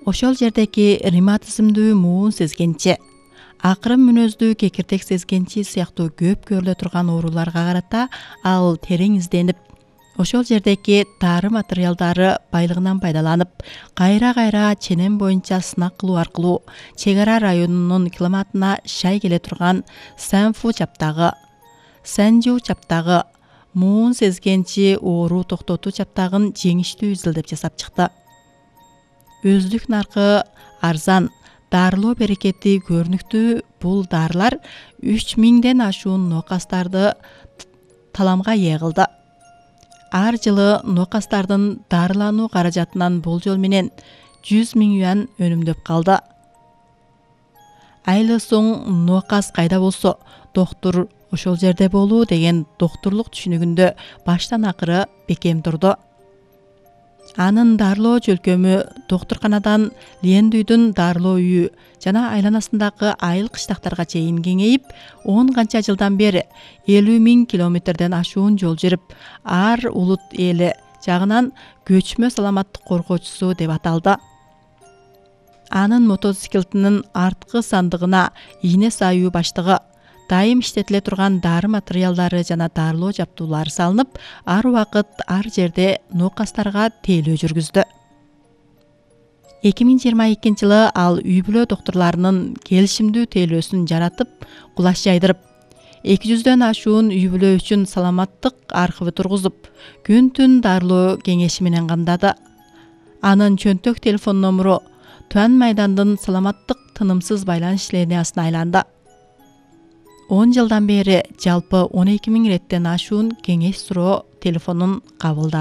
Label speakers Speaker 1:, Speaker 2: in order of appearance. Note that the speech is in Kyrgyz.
Speaker 1: Ошол жердеки ревматизмдүү муун сезгенчи, акырын мүнөздүү кекиртек сезгенчи сыяктуу көп көрүлө турган ооруларга карата ал терең изденип, ошол жердеки дары материалдары байлыгынан пайдаланып, кайра ченем боюнча сынак кылуу аркылуу чек ара районунун климатына шай келе турган Сэнфу чаптагы, Сэнжу чаптагы, муун сезгенчи оору токтотуу чаптагын жеңиштүү изилдеп жасап чыкты. Өздүк наркы арзан, дарылоо берекети көрүнүктүү бул дарылар 3000ден ашуун нокастарды таламга ээ кылды. Ар жылы нокастардын дарылануу каражатынан болжол менен 100 000 юан өнүмдөп калды. Айлы соң нокас кайда болсо, доктур ошол жерде болуу деген доктурлук түшүнүгүндө баштан акыры бекем турду. Анын дарылоо чөлкөмү доктурканадан Лендүйдүн дарылоо үйү жана айланасындагы айыл кыштактарга чейин кеңейип, 10 канча жылдан бери 50 000 километрден ашуун жол жүрүп, ар улут эли жагынан көчмө саламаттык коргоочусу деп аталды. Анын мотоциклетинин арткы сандыгына ийне саюу баштыгы, дайым иштетиле турган дары материалдары жана дарылоо жаптуулары салынып, ар убакыт ар жерде нокастарга тейлөө жүргүздү. 2022 жылы ал үй бүлө доктурларынын келишимдүү тейлөөсүн жаратып, кулаш жайдырып, 200дөн ашуун үй бүлө үчүн саламаттык архиви тургузуп, күн-түн дарылоо кеңеши менен камдады. Анын чөнтөк телефон номуру Туан майдандын саламаттык тынымсыз байланыш линиясына айланды. 10 жылдан бери жалпы 12 000 реттен ашуун кеңеш суроо телефонун кабылдады.